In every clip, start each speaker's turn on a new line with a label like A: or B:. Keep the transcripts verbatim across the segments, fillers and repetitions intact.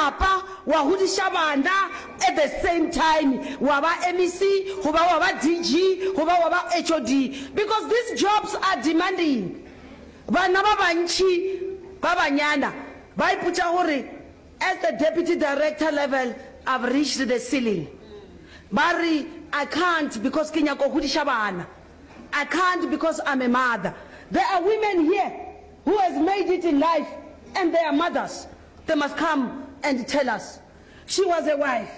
A: lapa, wa godiša bana at the same time wa ba M E C goba wa ba D G goba wa ba H O D, because these jobs are demanding. Bana ba bantši ba banyana ba ipotša gore as the deputy director level, I've reached the ceiling. Ba re, "I can't because ke nyaka go godiša bana. I can't because I'm a mother." There are women here who has made it in life and they are mothers. They must come and tell us. She was a wife.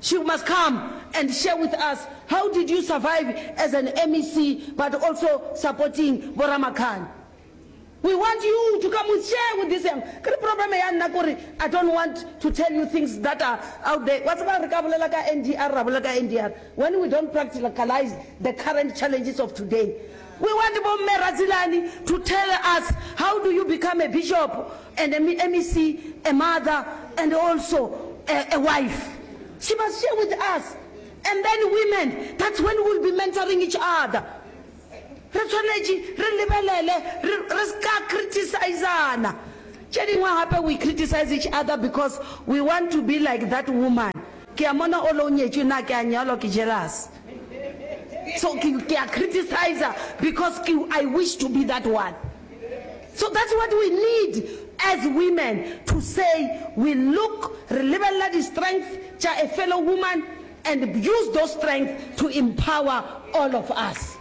A: She must come and share with us, how did you survive as an M E C but also supporting Boramakhani? We want you to come and share with this young. Ke re problem ya nna kore I don't want to tell you things that are out there. Wa tseba re ka bolela ka N D R, ra bolela ka N D R when we don't practicalize the current challenges of today. We want Bomme Radzilani to tell us, how do you become a bishop and a M E C, a mother and also a, a wife? She must share with us. And then women, that's when we'll be mentoring each other. Re tshwanetše re lebelele, re re ska criticizana. Tše dingwe gape, we criticize each other because we want to be like that woman. Ke a mona o le o nyetšwe, na ke a nyalwa, ke jealous, so ke ke a criticize because ke I wish to be that one. So that's what we need as women to say. We look, re lebelela di-strength tša a fellow woman and use those strength to empower all of us.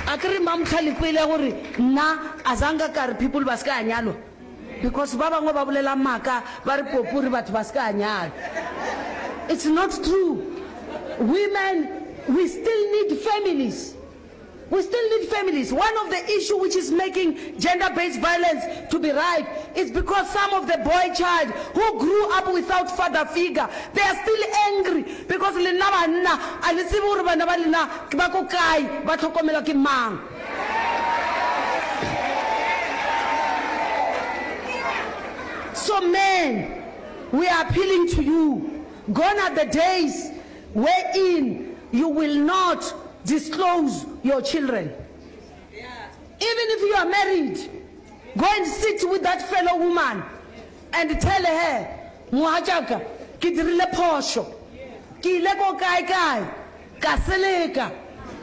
A: A ke re mamtlha le kwele gore nna a zanka ka re people ba se ka nyalwa, because ba bangwe ba bolela maaka, ba re popori batho ba se ka nyalwa. It's not true. Women, we still need families. We still need families. One of the issue which is making gender-based violence to be rife is because some of the boy child who grew up without father figure, they are still angry because lena banna a le tsebe gore bana ba lena ba ko kae, ba tlhokomelwa ke mang. So men, we are appealing to you. Gone are the days wherein you will not disclose your children. Even if you are married, go and sit with that fellow woman and tell her, "Mogatšaka, ke dirile phošo. Ke ile ko kae kae, ka seleka.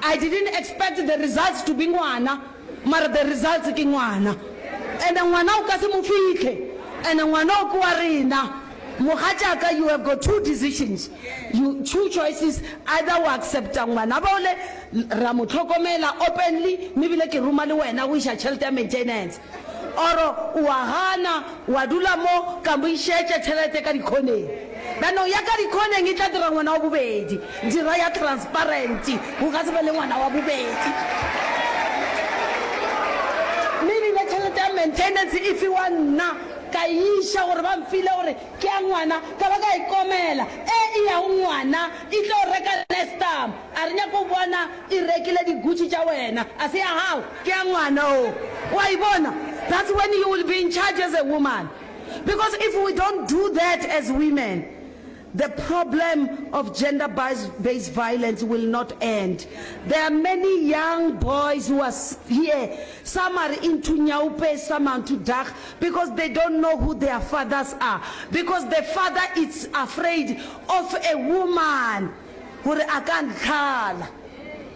A: I didn't expect the results to be ngwana, mara the results ke ngwana. And ngwana o ka se mo fitlhe, and ngwana o ke wa rena. Mogatšaka, you have got two decisions, you two choices: either o accepta ngwana bole, ra mo tlhokomela openly, mme ebile ke roma le wena go iša tšhelete ya maintenance, or wa gana, wa dula mo, ka mo išetše tšhelete ka dikhoneng. Bjanong ya ka dikhoneng e tla dira ngwana wa bobedi. Dira ya transparent, go ka se be le ngwana wa bobedi." Mme ebile tšhelete ya maintenance e fiwa nna, ka iša gore ba mfile gore ke ya ngwana, ka ba ka ikomela e e yago ngwana e tlo reka Nestum. A re nyako bona e rekile di-Gucci tša wena, a se ya gago, ke ya ngwana o wa e bona. That's when you will be in charge as a woman, because if we don't do that as women, the problem of gender-based violence will not end. There are many young boys who are here. Some are into nyaope, some are into dark, because they don't know who their fathers are. Because the father is afraid of a woman. Gore a ka ntlhala.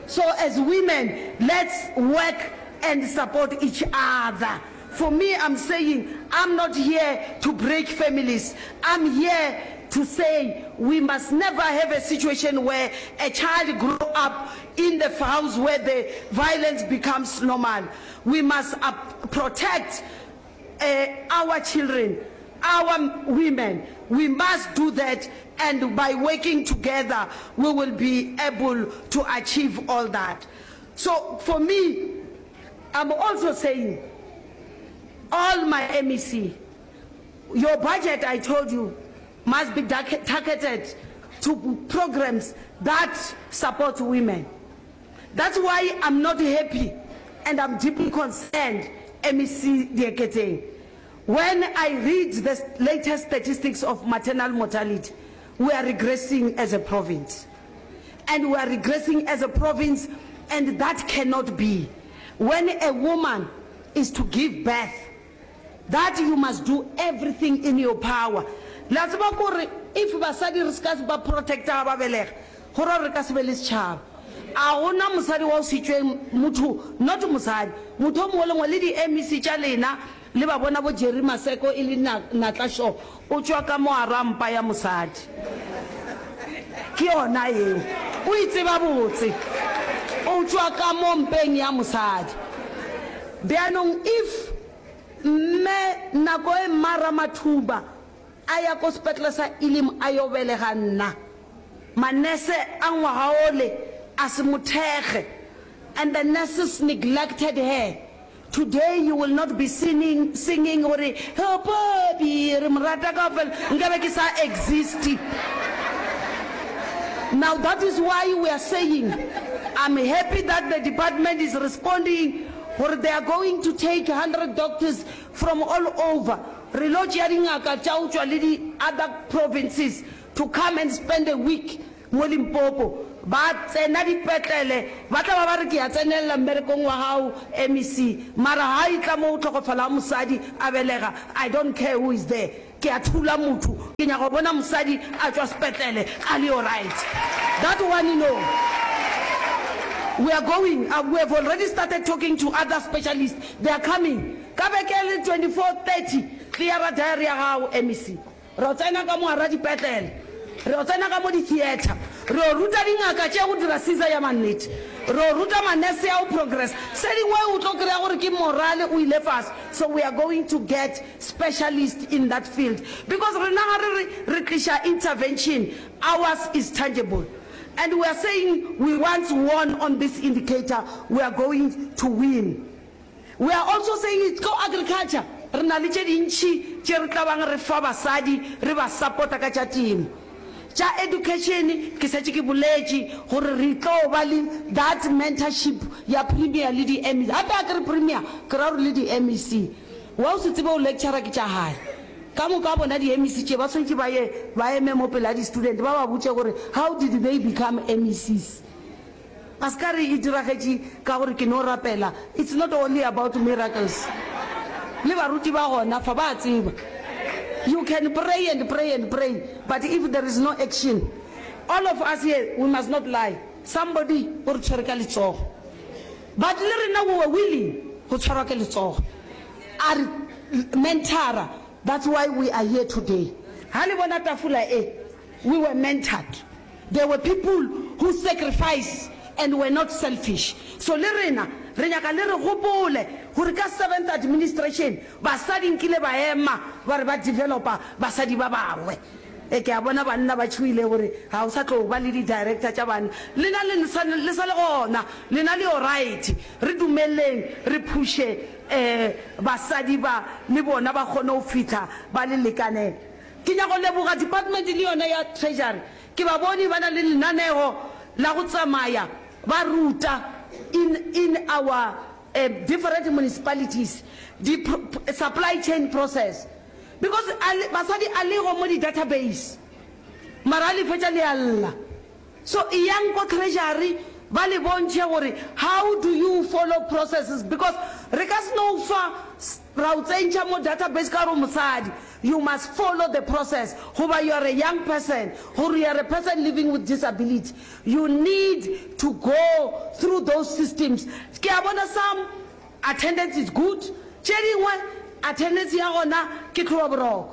A: So as women, let's work and support each other. For me, I'm saying I'm not here to break families. I'm here to say we must never have a situation where a child grow up in the house where the violence becomes normal. We must uh, protect uh, our children, our women. We must do that, and by working together, we will be able to achieve all that. So for me, I'm also saying, all my M E C, your budget, I told you, must be targeted to programs that support women. That's why I'm not happy and I'm deeply concerned, M E C Dieketseng. When I read the latest statistics of maternal mortality, we are regressing as a province. And we are regressing as a province, and that cannot be. When a woman is to give birth, That you must do everything in your power. Le a tseba kore if basadi re se ka ba protecta ga ba belega, go ra gore re ka se be le setšhaba. A go na mosadi wa go se tšwe motho, not mosadi, motho o mongwe le mongwe, le di M E C tša lena le ba bona bo Jerry Maseko e le natla sure o tšwa ka mo gara mpa ya mosadi. Ke yona yeo. O e tseba botse. O tšwa ka mo mpeng ya mosadi. Bjanong if mme nako e Mma Ramathuba a ya ko sepetlele sa Elim a yo belega nna, manese a ngwaga ole a se mo thekge and the nurses neglected her. Today you will not be singing, singing gore oh Bobby re mo rata kaofela, nkabe ke sa exist. Now that is why we are saying I'm happy that the department is responding gore they are going to take hundred doctors from all over. Re lo tšea dingaka tša go tšwa le di other provinces to come and spend a week mo Limpopo. Ba tsena dipetlele, ba tla ba ba re ke ya tsenelela mmerekong wa gago M E C, mara ga e tla mo go hlokofala ga mosadi a belega, I don't care who is there, ke a thula motho, ke nyaka go bona mosadi a tšwa sepetlele a le alright. That one, no. We are going, uh, we have already started talking to other specialists, they are coming. Ka beke le twenty-four thirty, cleara diary ya gago M E C. Re o tsena ka mo gara dipetlele, re o tsena ka mo di-theatre, re o ruta dingaka tše go dira caesar ya mannete, re o ruta manese ya go progress. Se dingwe o tlo kry-a gore ke morale o ile fase. So we are going to get specialist in that field because rena ga re re re tliša intervention, ours is tangible. And we are saying we once won on this indicator, we are going to win. We are also saying it's go agriculture. Re na le tše dintši tše re tla bang re fa basadi re ba support-a ka tša temo. Tša education ke šetše ke boletše gore re tlo ba le that mentorship ya premier le di M E C. Gape a ke re premier, ke ra gore le di M E C. Wa o se tsebe o lecturer ke tša gae. Ka moka bona di M E C tše ba swanetše ba ye ba eme mo pele ga di-student ba ba botše gore how did they become M E Cs. A se ka re e diragetše ka gore ke no rapela. It's not only about miracles. Le baruti ba gona fa ba tseba. You can pray and pray and pray, but if there is no action, all of us here, we must not lie. Somebody o re tshwere ka letsogo. But le rena we were willing go tshwarwa ke letsogo. A re mentora. That's why we are here today. Ha le bona tafola e, we were mentored. There were people who sacrificed and were not selfish. So le rena re nyaka le re gopole gore ka seventh administration basadi nkile ba ema ba re ba developa basadi ba bangwe. E ke a bona banna ba tšhoile gore ga o sa tlo ba le di-director tša banna. Lena le sa le sa le gona, lena le alright. Re dumeleng re phushe eh basadi ba le bona ba kgone go fihla ba le lekanela. Ke nyaka go leboga department le yona ya treasury. Ke ba bone ba na le lenanego la go tsamaya ba ruta in in our uh, different municipalities di supply chain process because basadi a lego mo di-database mara a le fetša le a lla. So eyang ko treasury ba le bontšhe gore how do you follow processes, because re ka se no fa ra o tsentšha mo database ka gore mosadi. You must follow the process, goba you are a young person, gore you are a person living with disability, you need to go through those systems. Ke a bona some attendance is good, tše dingwe attendance ya gona ke tlhoba boroko.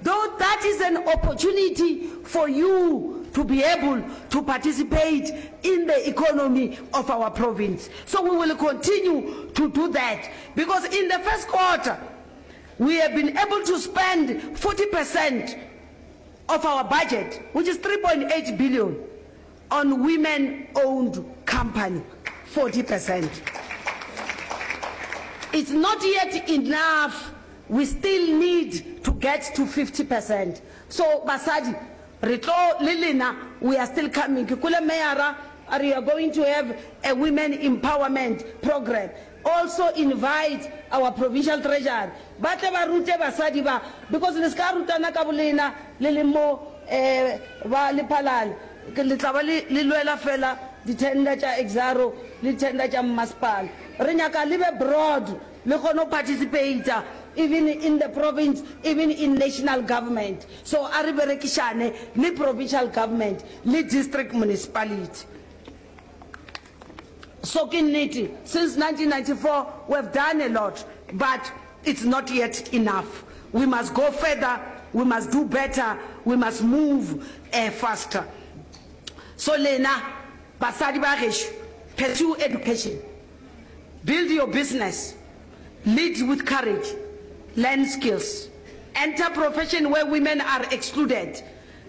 A: Though that is an opportunity for you to be able to participate in the economy of our province. So we will continue to do that because in the first quarter we have been able to spend forty percent of our budget, which is three point eight billion, on women-owned company, forty percent. It's not yet enough. We still need to get to fifty percent. So basadi, re tlo le lena, we are still coming. Ke kwele mayor we are going to have a women empowerment program. Also invite our provincial treasurer. Ba tle ba rute basadi ba, because le ska rutana ka bolena le le mo eh ba Lephalale. Ke le tla ba le le lwela fela di-tender tša Exxaro le tender tša mmasepala. Re nyaka le be broad, le kgone go participate even in the province, even in national government. So a re berekišane le provincial government le district municipality. So ke nnete, since nineteen ninety four we have done a lot, but it's not yet enough. We must go further, we must do better, we must move uh, faster. So lena basadi ba gešo, pursue education, build your business, lead with courage, learn skills, enter profession where women are excluded,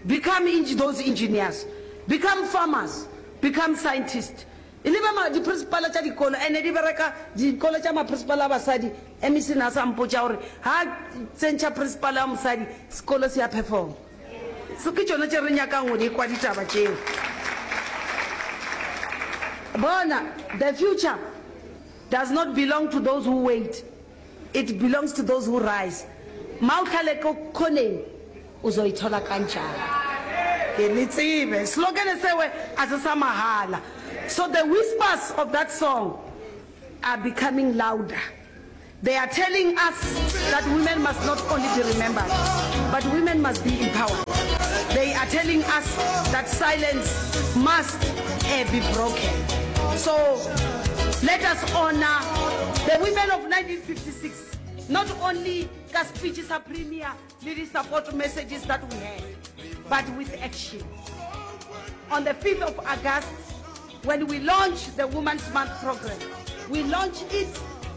A: become those engineers, become farmers, become scientists. E le ba diprinsipala tša dikolo ene di bereka dikolo tša maprinsipala a basadi. M E C na sa mpotša gore ha tsentšha principal ya mosadi, sekolo se ya perform. So ke tšona tše re nyakang go di kwa ditaba tšeo. Bona, the future does not belong to those who wait, it belongs to those who rise. Mawuhlale khoneni, uzoyithola kanjani? Ke le tsebe slogan sewe a se sa mahala. So the whispers of that song are becoming louder. They are telling us that women must not only be remembered, but women must be empowered. They are telling us that silence must uh, be broken. So let us honor the women of nineteen fifty-six, not only ka speech sa premier le di-support messages that we had, but with action. On the fifth of August, when we launch the Women's Month program, we launch it.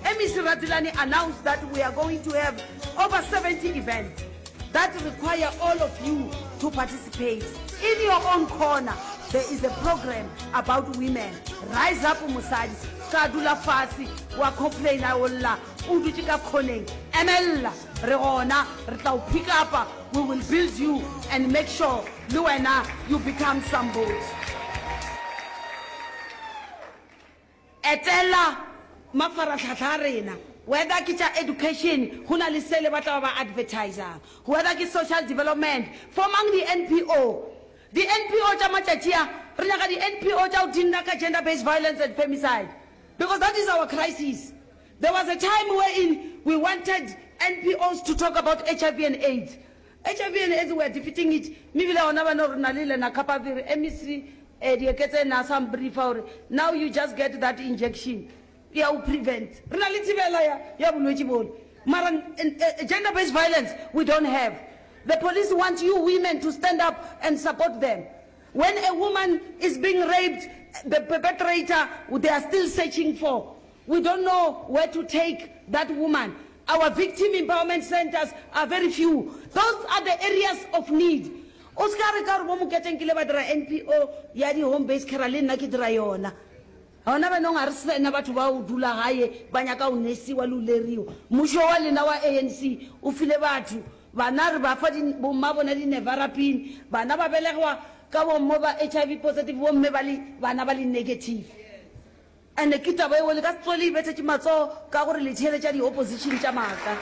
A: M E C Radzilani announced that we are going to have over seventy events that require all of you to participate. In your own corner, there is a program about women. Rise up, mosadi. Ka dula fase wa complaina, o lla o dutše ka khoneng. Emella, re gona, re tla o pick up. We will build you and make sure le wena you become somebody. Etela mafaratlhatlha a rena, whether ke tša education, go na le sele ba tla ba ba advertisang, whether ke social development, formang di-N P O. Di-N P O tša matšatši a, re nyaka di-N P O tša go dinna ka gender based violence and femicide, because that is our crisis. There was a time wherein we wanted N P Os to talk about H I V and AIDS. H I V and AIDS, we are defeating it. Mme bile gona bana re na le lenacapavir. M E C eh, Dieketse na sa mbriefa gore now you just get that injection ya o prevent. Re na le thibela ya, ya bolwetši bole, mara eh, gender based violence we don't have. The police want you women to stand up and support them. When a woman is being raped, the perpetrator they are still searching for. We don't know where to take that woman. Our victim empowerment centers are very few. Those are the areas of need. O se ka re ka gore bo Moketeng kile ba dira N P O ya di-home based care, le nna ke dira yona. Gona banong ga re sena batho ba o dula gae ba nyaka go nesiwa le o leriwa. Mmušo wa lena wa A N C o file batho bana re ba fa bomma bona di-nevirapine, bana ba belegwa ka bommo ba H I V positive, bomme ba le bana ba le negative. And ke taba eo le ka se tswele ibethetše matsogo ka gore le theeletša di-opposition tša maaka.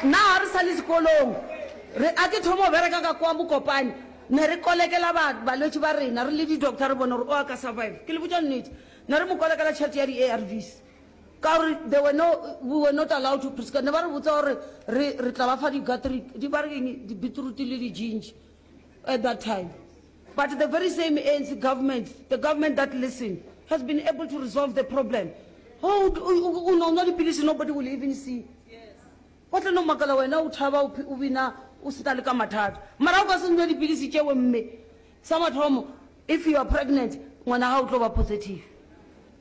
A: Nna ga re sa le sekolong, re a ke thoma go bereka ka kwa Mokopane, ne re kolekela balwetši ba rena re le di-doctor, re bone gore o a ka survive. Ke le botša nnete, ne re mo kolekela tšhelete ya di-A R Vs ka gore they were no, we were not allowed to prescribe. Ne ba re botsa gore re re tla ba fa di-gatric di ba re keng, di-beetroot le di-ginger at that time. But the very same A N C government, the government that listened, has been able to resolve the problem. Oh, o no nwa dipilisi, nobody will even see. O tla no makala wena o thaba, o o bina o sena le ka mathata, mara o ka se nwe dipilisi tšeo, mme sa mathomo, if you are pregnant, ngwana ga o tlo ba positive,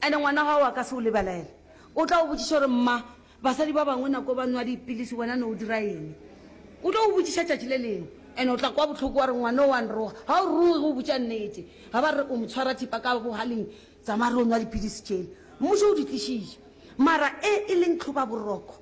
A: and ngwana gago a ka se o lebelela. O tla o botšiša gore, "Mma, basadi ba bangwe nako ba nwa dipilisi, wena ne o dira eng?" O tlo o botšiša tšatši le lengwe, and o tla kwa botlhoko wa re ngwana o wa nroga. Ga o roge, o botša nnete. Ga ba re o mo tshwara thipa ka bogaleng, tsamaya re o nwa dipilisi tšele mmušo o di tlišitše. Mara e e leng tlhoba boroko,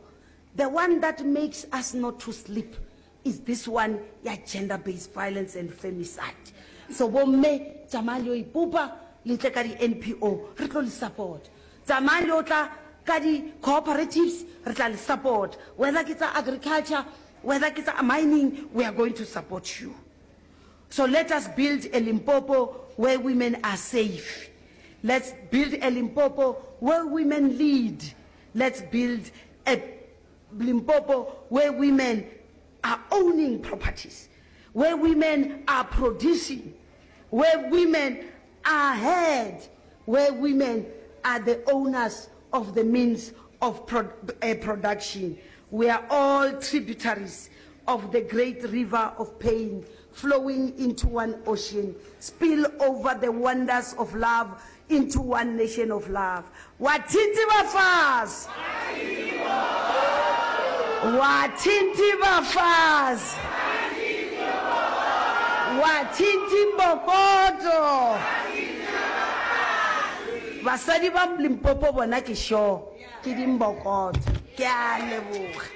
A: the one that makes us not to sleep, is this one ya gender based violence and femicide. So bomme, tsamayang le yo ipopa, le tle ka di-N P O, re tlo le support. Tsamayang le o tla ka di-cooperatives, re tla le support, whether ke tsa agriculture, whether ke tsa mining, we are going to support you. So let us build a Limpopo where women are safe. Let's build a Limpopo where women lead. Let's build a Limpopo where women are owning properties, where women are producing, where women are heard, where women are the owners of the means of pro uh, production. We are all tributaries of the great river of pain flowing into one ocean, spill over the wonders of love into one nation of love. Wathinti bafazi! Wathinti bafazi! Wathinti mbokoto! Basadi ba Limpopo bona ke sure ke dimbokoto. Ke a leboga.